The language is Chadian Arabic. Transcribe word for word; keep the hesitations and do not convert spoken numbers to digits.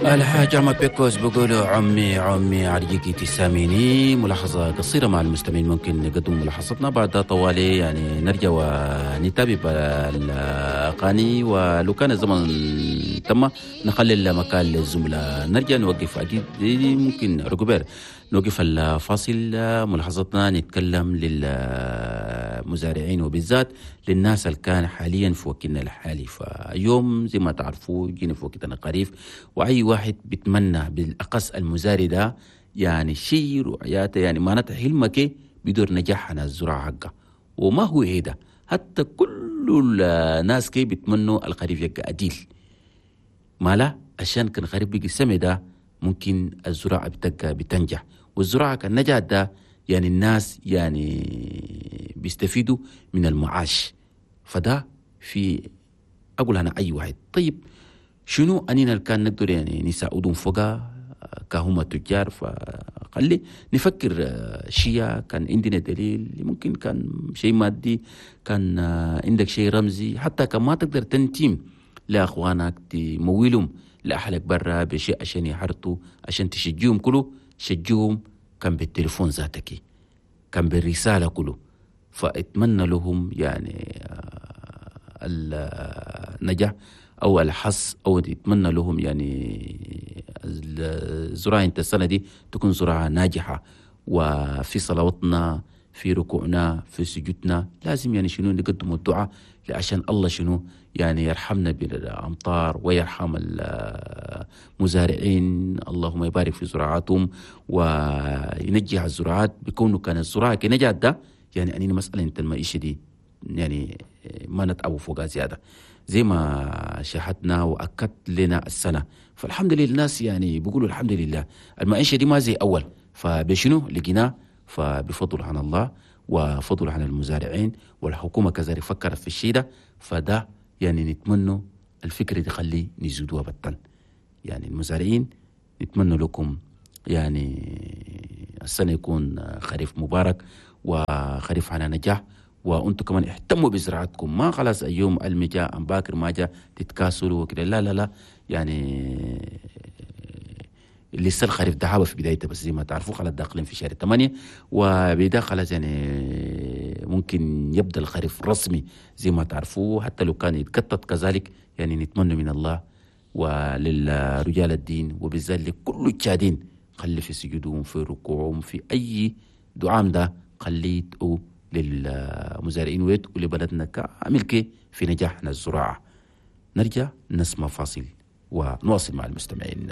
الحاج عمر بيكوز بيقولوا عمي عمي عرجيكي تساميني. ملاحظة قصيرة مع المستمعين، ممكن نقدم ملاحظتنا بعد طوالي، يعني نرجع ونتابع الأغاني، ولو كان الزمن تم نخلي المكان للزملاء. نرجع نوقف أكيد ممكن ركوبير نوقف الفاصل. ملاحظتنا نتكلم للمزارعين وبالذات للناس اللي كان حاليا في وقتنا الحالي. فيوم زي ما تعرفوا جينا في وقتنا الخريف، وأي واحد بيتمنى بالأقص المزارع ده يعني شيء رؤياته، يعني معناته حلمك بدور نجاح على الزراعة حقه، وما هو هيدا حتى كل الناس كي بيتمنوا الخريف يبقى أديل مالا، عشان كان خريف بيجي السنة ده ممكن الزراعة بتبقى بتنجح، والزراعة كان نجحت ده يعني الناس يعني بيستفيدوا من المعاش. فده في أقول أنا أي واحد. طيب شنو أننا اللي كان نقدر يعني نساعدهم فوقا كهما تجار؟ فخلي نفكر شيء كان عندنا دليل، ممكن كان شيء مادي، كان عندك شيء رمزي، حتى كان ما تقدر تنتيم لأخوانك تمويلهم لأهلك برا بشيء عشان يحرطوا، عشان تشجيهم كله شجيهم كان بالتليفون ذاتك، كان بالرسالة كله. فأتمنى لهم يعني النجاح أو الحظ، أو أتمنى لهم يعني الزراعة انت السنة دي تكون زراعة ناجحة. وفي صلواتنا، في ركوعنا، في سجودنا، لازم يعني شنو نقدم الدعاء عشان الله شنو يعني يرحمنا بالأمطار ويرحم المزارعين، اللهم يبارك في زراعتهم وينجح الزراعات بكونه كان الزراعة كنجاح ده يعني أني مسألة انت المعيشة دي يعني ما نتعبوا فوقها زيادة زي ما شاهدنا وأكدت لنا السنة. فالحمد لله الناس يعني بيقولوا الحمد لله المعيشة دي ما زي أول، فبشنو لقيناه؟ فبفضل عن الله وفضل عن المزارعين والحكومة كذلك فكرت في الشيء ده. فده يعني نتمنى الفكرة دي خلي نزودوها بطن، يعني المزارعين نتمنى لكم يعني السنة يكون خريف مبارك وخريف على نجاح، وانتم كمان اهتموا بزراعتكم، ما خلاص اليوم المجا ام باكر ما جا تتكاسلوا وكده، لا لا لا، يعني لسه الخريف ده في بدايته، بس زي ما تعرفوا خلاص داخلين في شهر ثمانية وبدا خلاص يعني ممكن يبدا الخريف رسمي زي ما تعرفوا، حتى لو كان يتقطط كذلك. يعني نتمنى من الله وللرجال الدين وبالذات لكل الشادين خلي في سجودهم في ركوعهم في اي دعاء ده خليه للمزارعين ويت ولبلدنا كامل كي في نجاحنا الزراعة. نرجع نسمع فاصل ونواصل مع المستمعين.